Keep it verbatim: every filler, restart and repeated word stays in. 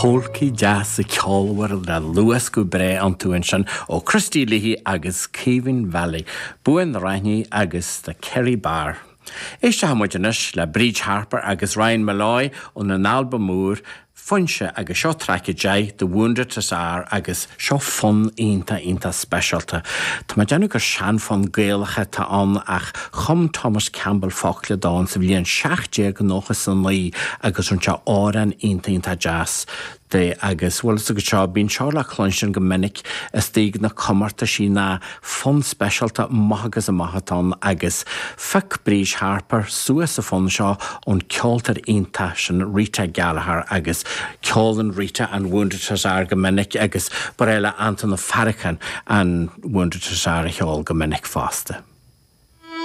Polcaí deasa ceolmhar le luascadh breá iontu ansin ó Christy Leahy agus Caoimhín Valley, Bua na Raithní agus The Kerry Bar. Éistfidh muid anois le Bríd Harper agus Ryan Molloy óna n-albam úr Foinse agus seo traic a deich The Wounded Hussar agus seo fonn iontach iontach speisialta. Tá mé ag déanamh gur seanfhonn Gaelach atá ann ach chum Thomas Campbell focla dó sa bhliain seacht déag nócha is a naoi agus rinne sé amhrán iontach iontach deas de agus bhfuil go seo bíonn seo le cluinstin go minic istigh na comórtaisí ná fonn speisialta maith agus amach atá ann agus phioc Bríd Harper suas an fonn seo ón ceoltóir iontach sin Rita Gallagher agus ceolann Rita an Wounded Hussar go minic agus ba le Anton Ó Faracháin an Wounded Hussar a cheol go minic fosta.